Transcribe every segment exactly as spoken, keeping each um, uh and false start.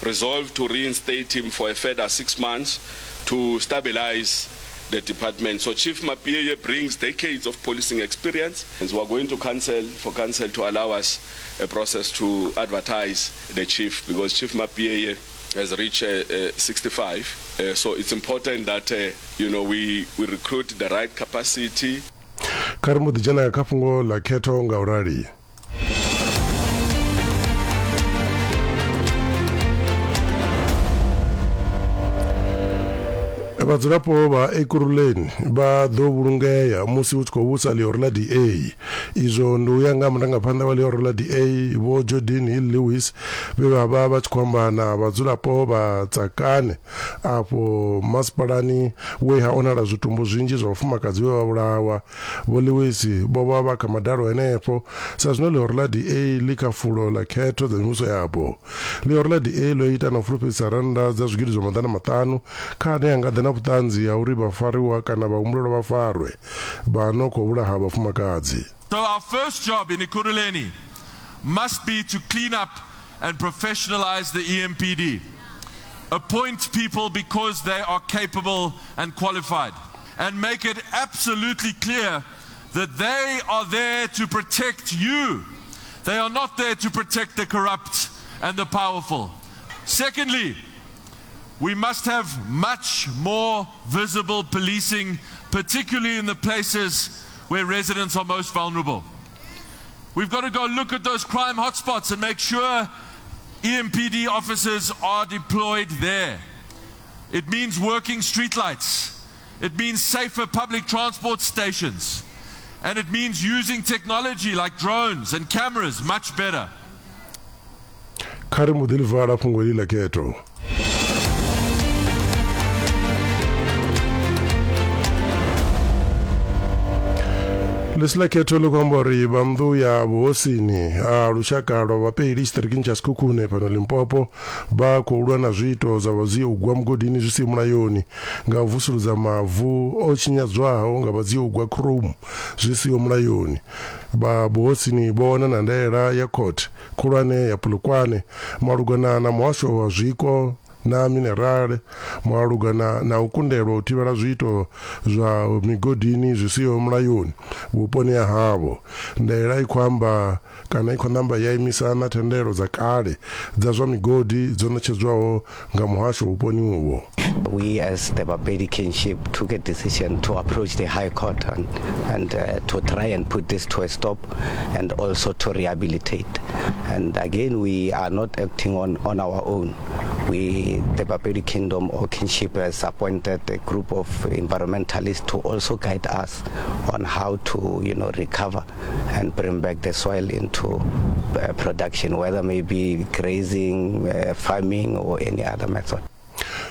resolved to reinstate him for a further six months to stabilize the department. So Chief Mapiyeye brings decades of policing experience, and so we are going to council for council to allow us a process to advertise the chief, because Chief Mapiyeye has reached uh, uh, sixty-five. Uh, so it's important that uh, you know we, we recruit the right capacity. Kha ri mbo ḓi dzhena kha fhungo ḽa khetho nga u rali. Vhadzulapo vha Ekurhuleni vha ḓo vhulungea musi hu tshi khou vhusa ḽihoro ḽa D A. Izwo ndi u ya nga murangaphanḓa wa ḽihoro ḽa D A Vho Geordin Hill-Lewis vhe vha vha vha tshi khou amba na vhadzulapo vha Tsakane afho masipalani we ha onala zwitumbu zwinzhi zwa vhafumakadzi vhe vha vhulawa. Vho Lewis vho vha vha kha madalo henefho sa zwino ḽihoro ḽa D A ḽi kha fulo ḽa khetho dza mivhuso yapo. Ḽihoro ḽa D A ḽo ita na u fulufhedzisa rannda dza zwigidi zwa maḓana maṱanu kha ane a nga ḓa na vhuṱanzi ha uri vhafariwa kana vhahumbulelwa vha farwe vha no khou vhulaha vhafumakadzi. So our first job in Ekurhuleni must be to clean up and professionalize the E M P D. Appoint people because they are capable and qualified, and make it absolutely clear that they are there to protect you. They are not there to protect the corrupt and the powerful. Secondly, we must have much more visible policing, particularly in the places where residents are most vulnerable. We've got to go look at those crime hotspots and make sure E M P D officers are deployed there. It means working streetlights. It means safer public transport stations. And it means using technology like drones and cameras much better. Kha ri mbo ḓi ḽi vala fhungo iḽi ḽa khetho. Ḽisi ḽa khetho ḽi khou amba uri vha nnḓu ya vhuhosini ha lushaka lwa Vhapeli tshiṱirikini tsha Sekhukhune fhano Limpopo vha khou lwa na zwiito zwa vhadzia u gwa mugodini zwi si mulayoni nga u vusuludza mavu o tshinyadzwaho nga vhadzia u gwa chrome zwi siho mulayoni. Vha vhuhosini vho wana na ndaela ya khothe khulwane ya Polokwane malugana na muhasho wa zwiko na minerale malugana na u kundelwa u thivhela zwiito zwa migodini zwi siho mulayoni vhuponi ha havho. Ndaela i khou amba kana i khou namba ya imisa na thendelo dza kale dza zwa migodi dzo ṋetshedzwaho nga muhasho vhuponi uvho. We as the Bapedi kinship took a decision to approach the High Court and, and uh, to try and put this to a stop and also to rehabilitate. And again, we are not acting on, on our own. We, the Bapedi Kingdom or kinship, has appointed a group of environmentalists to also guide us on how to, you know, recover and bring back the soil into uh, production, whether maybe grazing, uh, farming or any other method.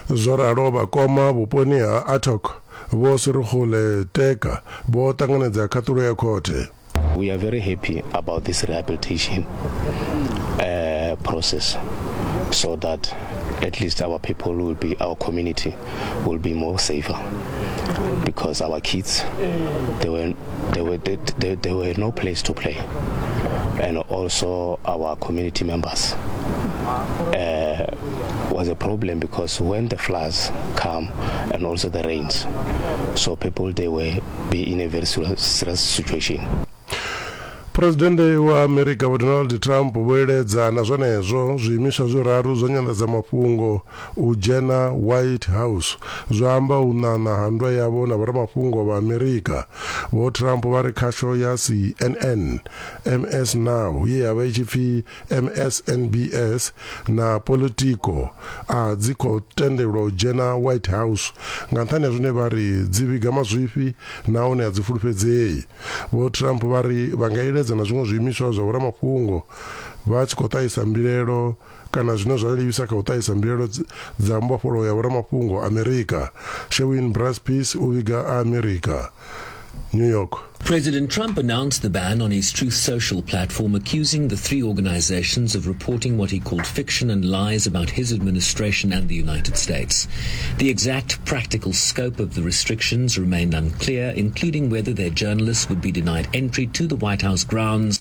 Zwo ralo vhakoma vhuponi ha Atok vho Sirugule Teka vho ṱanganedza khaṱulo ya khothe. We are very happy about this rehabilitation uh, process, so that at least our people will be, our community will be more safer, because our kids, they were, they were, they, they, they were no place to play, and also our community members uh, was a problem, because when the floods come and also the rains, so people, they were be in a very serious situation. Presidennde wa Amerika Vho Donald Trump vho iledza na zwenezwo zwiimiswa zwiraru zwa nyanḓadzamafhungo u dzhena White House zwa amba u ṋaṋa ha nndwa yavho na vhoramafhungo vha Amerika. Vho Trump vha ri khasho ya C N N, M S Now ye ya vha i tshi pfi M S N B S na Politico a dzi khou tendelwa u dzhena White House nga nṱhani ha zwine vha ri dzi vhiga mazwifhi nahone a dzi fulufhedzei. Vho Trump vha ri vha nga iledza na zwiṅwe zwiimiswa zwa vhoramafhungo vha tshi khou ṱahisa mbilaelo kana zwine zwa livhisa kha u ṱahisa mbilaelo dza mbofholowo ya vhoramafhungo Amerika. Shewin Braspis u vhiga Amerika, New York. President Trump announced the ban on his Truth Social platform, accusing the three organizations of reporting what he called fiction and lies about his administration and the United States. The exact practical scope of the restrictions remained unclear, including whether their journalists would be denied entry to the White House grounds.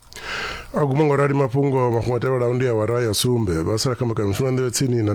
A guma ngo rali mafhungo mafhungo tevhelaho ndi awara ya sumbe vha sala kha mbekanyamushumo nḓevhe tsini na